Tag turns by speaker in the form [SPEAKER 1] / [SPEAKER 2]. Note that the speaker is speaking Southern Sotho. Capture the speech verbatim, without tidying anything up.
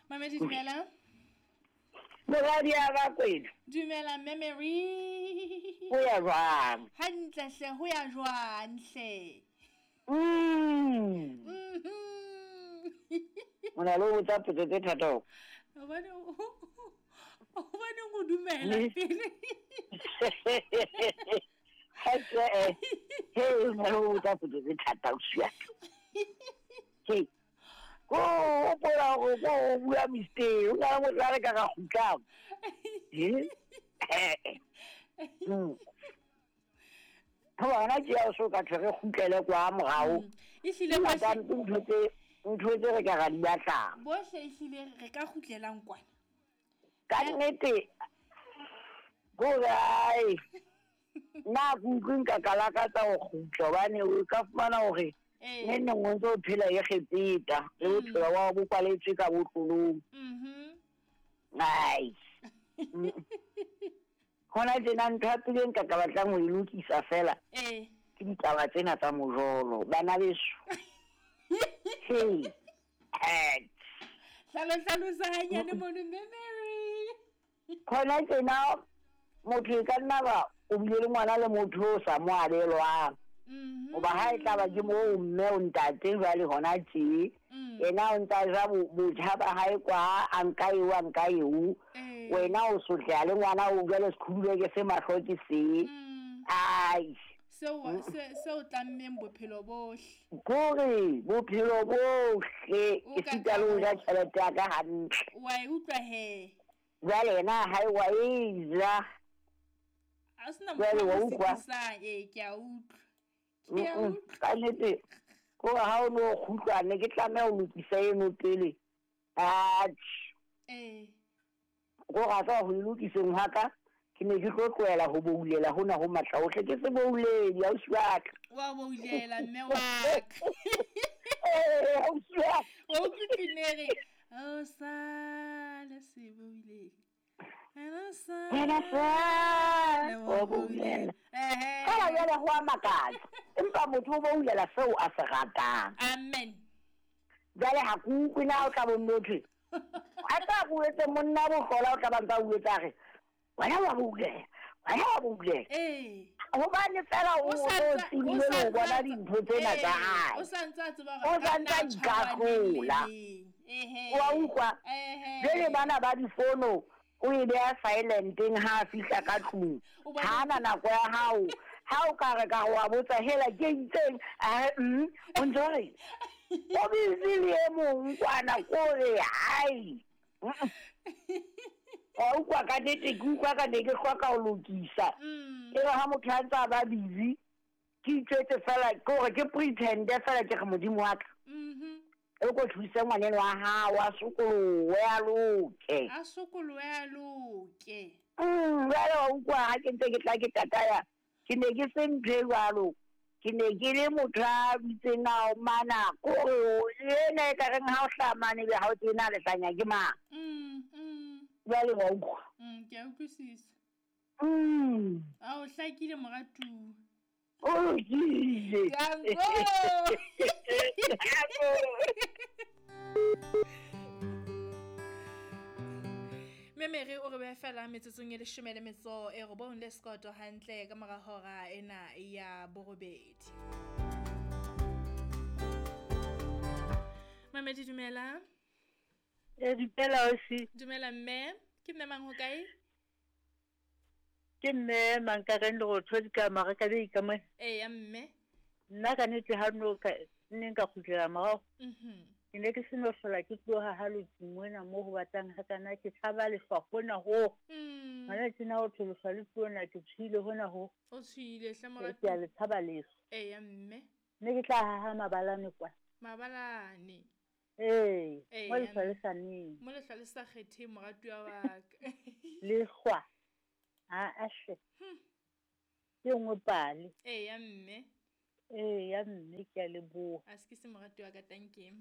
[SPEAKER 1] Mamedi dumela.
[SPEAKER 2] Moradi ya ba kwena.
[SPEAKER 1] Dumela Memory.
[SPEAKER 2] Ho ya jwang?
[SPEAKER 1] Hantle hle, ho ya jwang hle?
[SPEAKER 2] Mm.
[SPEAKER 1] Mhm.
[SPEAKER 2] O na le ho botsa potso tse thata ho.
[SPEAKER 1] Hobane hobane o dumela pele.
[SPEAKER 2] Ha ke eh. He, o na le ho botsa potso tse thata o sia. He. Ko o pola go go bua mistake, o na le motho a re ka ga kgutlang. Eh? Mm. Ho bona ke ya so ka tle re kgutlele kwa morao.
[SPEAKER 1] E hlile
[SPEAKER 2] ba ntho tse ntho tse re ka ga di batlang.
[SPEAKER 1] Bohle e hlile re ka kgutlelang kwana.
[SPEAKER 2] Ka nnete go ai. Nna ke utlwe nka ka lakatsa ho kgutla hobane o ka fumana hore ne neng o ntso phela e kgepeta le bophelo wa bo kwaletswe ka botlolong.
[SPEAKER 1] Mhm.
[SPEAKER 2] Ai. Hona tjena ntho ya pele nka ka batlang ho e lokisa fela.
[SPEAKER 1] Eh.
[SPEAKER 2] Ke ditaba tsena tsa mojolo bana beso. Hey. Eh.
[SPEAKER 1] Hlalo hlalosa hanyane mono Memory.
[SPEAKER 2] Hona tjena motho e ka nna ba o bile le ngwana le motho o sa mo abelwang.
[SPEAKER 1] Mhm.
[SPEAKER 2] Hoba ha e tla ba ke moo mme o ntate jwale hona tje. Yena o ntsa ja botjha ba hae kwa a nka eo a nka eo. Wena o sotleha le ngwana o jwale sekhudule ke se mahlo ke se. Ai.
[SPEAKER 1] Seo se seo tlammeng bophelo bohle.
[SPEAKER 2] Kore bophelo bohle ke sita le ho ja tjhelete ya ka hantle.
[SPEAKER 1] Wa e utlwa he.
[SPEAKER 2] Jwale yena ha e wa e ja.
[SPEAKER 1] A sena motho o sekisang, eh ke a utlwa. Ke a utlwa.
[SPEAKER 2] Ka nnete ko ha o no kgutlwa ne ke tlameha ho lokisa eno pele. Atjhe.
[SPEAKER 1] Eh.
[SPEAKER 2] Ko ga tsa ho lokiseng ha ka ke ne ke tlo tlohela ho boulela hona ho matla ohle ke se bouledi ausi wa ka.
[SPEAKER 1] Wa boulela mme wa ka.
[SPEAKER 2] Eh ausi wa.
[SPEAKER 1] Wa utlwe pinere. O sale se boulele. Ena sale.
[SPEAKER 2] Ena sale o boulela.
[SPEAKER 1] Eh.
[SPEAKER 2] Fela jwale ho a makatsa. Empa motho o boulela seo a se ratang.
[SPEAKER 1] Amen.
[SPEAKER 2] Jwale ha ke utlwe na o tla bo motho. A tla buetse monna bohlola o tla ba ntsa buetsa re wena wa boulela, wena wa boulela.
[SPEAKER 1] Eh.
[SPEAKER 2] Hobane fela o o tsebile ho bona dintho tsena tsa hae.
[SPEAKER 1] O sa ntse a tseba
[SPEAKER 2] O sa ntse a ikahlola.
[SPEAKER 1] Ehe.
[SPEAKER 2] Wa utlwa?
[SPEAKER 1] Ehe.
[SPEAKER 2] Jwale bana ba difono o e beha silenteng ha a fihla ka tlung. Ha ana nako ya hao. Ha o ka re ka wa botsa hela ke itseng a mm o ntse re o busy le e mong kwana kore ai. O utlwa ka nnete ke utlwa ka ne ke hloka ho lokisa. E re ha motho a ntse a ba busy ke itjwetse fela ke hore ke pretende fela ke re modimo wa ka.
[SPEAKER 1] Mhm.
[SPEAKER 2] E ko thuse ngwaneno wa hao a sokolohe a loke.
[SPEAKER 1] A sokolohe a loke.
[SPEAKER 2] Mm, jwale wa utlwa ha ke ntse ke tla ke tataya ke ne ke se ntho e jwalo. Ke ne ke le motho a bitseng a mana kore ena e ka reng ha o hlaha mane ebe ha o tsebe lehlanya ke mang.
[SPEAKER 1] Mm, mm.
[SPEAKER 2] Jwale wa utlwa.
[SPEAKER 1] Mm, ke a utlwisisa.
[SPEAKER 2] Mm.
[SPEAKER 1] A o hlakile moratuwa.
[SPEAKER 2] O lokile.
[SPEAKER 1] Danko. Memere o re beha fela metsotsong e leshome le metso e robong le sekoto hantle ka mora hora ena ya borobedi. Mamedi dumela.
[SPEAKER 3] Eh dumela ausi.
[SPEAKER 1] Dumela mme, ke mme mang ho kae?
[SPEAKER 3] Ke mme Mankareng Lerotho di ka maraka be ka mo.
[SPEAKER 1] Eh ya mme.
[SPEAKER 3] Nna ka nnete ha no ka nne nka kgutlela morao.
[SPEAKER 1] Mhm.
[SPEAKER 3] Ke ne ke seno hlola ke tloha ha lotsi mona mo ho batlang ha kana ke tshaba lehlwa hona ho.
[SPEAKER 1] Mm.
[SPEAKER 3] Hona tjena ho tholosa le tsona ke tshwile hona ho.
[SPEAKER 1] O tshwile hle moratuwa.
[SPEAKER 3] Ke a le tshaba lehlwa.
[SPEAKER 1] Eh ya mme.
[SPEAKER 3] Ne ke tla haha mabalane kwa.
[SPEAKER 1] Mabalane.
[SPEAKER 3] Eh,
[SPEAKER 1] Eh,
[SPEAKER 3] mo
[SPEAKER 1] ya
[SPEAKER 3] lehlwa
[SPEAKER 1] mme.
[SPEAKER 3] le sa neng.
[SPEAKER 1] Mo lehlwa le sa kgetheng moratuwa wa ka.
[SPEAKER 3] Lehlwa. Ha a hle. Ke nngwe pale.
[SPEAKER 1] Eh ya mme.
[SPEAKER 3] Eh ya mme ke a leboha.
[SPEAKER 1] A se ke se moratuwa ka tanke.